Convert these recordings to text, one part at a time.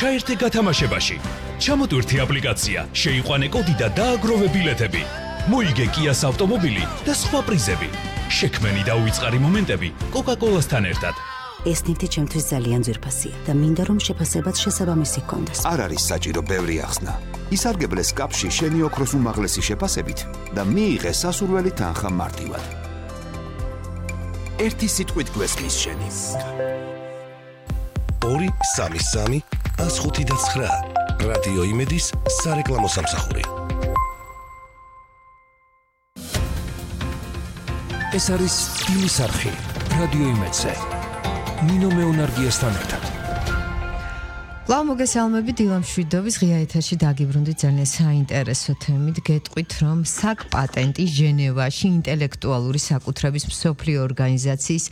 ჩაერთე გათამაშებაში. ჩამოტვირთი აპლიკაცია, შეიყვანე კოდი და დააგროვე ბილეთები. მოიგე Kia's ავტომობილი და სხვა პრიზები. შექმენი და უიწყარი მომენტები Coca-Cola-სთან ერთად. ეს ნივთი ჩემთვის ძალიან ძვირფასია და მინდა რომ შეფასებაც შესაბამისი ჰქონდეს. არ არის საჭირო ბევრი ახსნა. ისარგებლეს კაპში შენი ოქროს უმაღლესი შეფასებით და მიიღე სასურველი თანხა მარტივად. ერთი სიტყვით გვესმის შენი. 2-3-3-159 რადიო იმედის სარეკლამო სამსახური. ეს არის სტილის არხი რადიო იმედზე. ნინო მეუნარგიესთან ერთად. ლավ მოგესალმებით დილამ შვიდობის ღია ეთერში დაგიბრუნდით ძალიან საინტერესო თემით. გეტყვით რომ საკ-პატენტი ჟენევაში ინტელექტუალური საკუთრების მსოფლიო ორგანიზაციის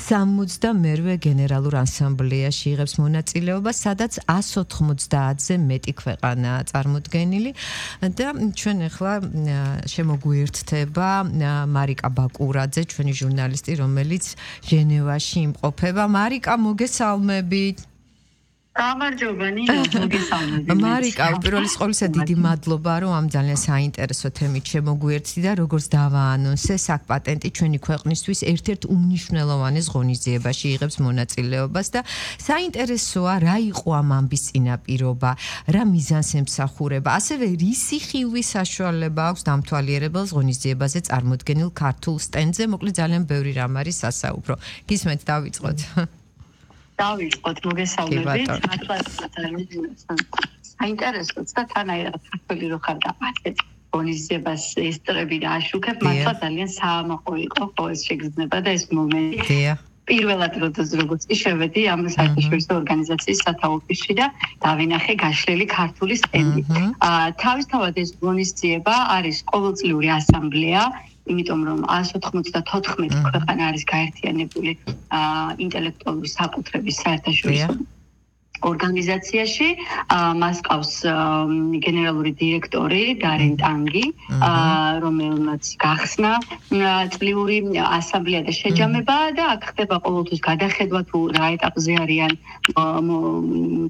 68-მერვე გენერალურ ასამბლეაში იღებს მონაწილეობას, სადაც 190-ზე მეტი ქვეყანაა წარმოდგენილი და ჩვენ ახლა შემოგვიერთდება მარიკა ბაკურაძე, ჩვენი ჟურნალისტი, რომელიც ჟენევაში იმყოფება. მარიკა, მოგესალმებით. გამარჯობა ნინო, მოგესალმებით. მარიკა, უპირველეს ყოვლისა დიდი მადლობა, რომ ამ ძალიან საინტერესო თემით შემოგვიერთდი და როგორც დავაანონსე, საკ-პატენტი ჩვენი ქვეყნისთვის ერთ-ერთ უმნიშვნელოვანეს ღონისძიებაში იღებს მონაწილეობას და საინტერესოა, რა იყო ამ ამბის წინაპირობა, რა მიზანს ემსახურება, ასევე რისი ხილვის საშუალება აქვს დამთვალიერებელს ღონისძიებაზე წარმოდგენილ ქართულ სტენდზე. მოკლედ ძალიან ბევრი რამ არის სასაუბრო. გისმენთ, დავიწყოთ. დავიწყოთ, მოგესალმებით. საინტერესოა და თანაირად საქართველოს რო ხარ და ასეთ ღონისძიებას ესწრები და აშუქებ, მართლა ძალიან საამაყო იყო ხო ეს შეგრძნება და ეს მომენტი. პირველად როგორც შევედი ამ საერთაშორისო ორგანიზაციის სათავო-ოფისში და დავინახე გაშლილი ქართული სტენდი. თავისთავად ეს ღონისძიება არის ყოველწლიური ასამბლეა, იმიტომ რომ 194 ქვეყანა არის გაერთიანებული ინტელექტუალური საკუთრების საერთაშორისო ორგანიზაციაში. მას ყავს გენერალური დირექტორი დარენ ტანგი, რომელმაც გახსნა წლიური ასამბლეა და შეჯამება და აქ ხდება ყოველთვის გადახედვა თუ რა ეტაპზე არიან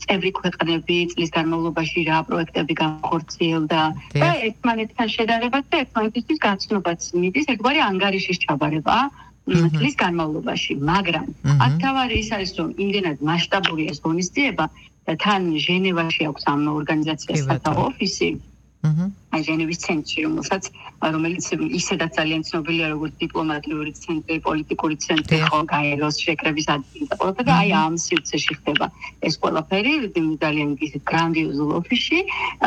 წევრი ქვეყნები წლის განმავლობაში, რა პროექტები განხორციელდა და ერთმანეთთან შედარება და ერთმანეთისთვის გაცნობაც მიდის, ერთგვარი ანგარიშის ჩაბარება წლის განმავლობაში, მაგრამ აქ თავარი ის არის, რომ იმდენად მასშტაბურია ეს ღონისძიება და თან ჟენევაში აქვს ამ ორგანიზაციას სათავო-ოფისი, ჟენევის ცენტრი, რომელიც ისედაც ძალიან ცნობილია როგორც დიპლომატიური ცენტრი, პოლიტიკური ცენტრი, ხო, გაეროს შეკრების ადგილი და ყველაფერი და აი ამ სივრცეში ხდება ეს ყველაფერი ძალიან გრანდიოზულ ოფისში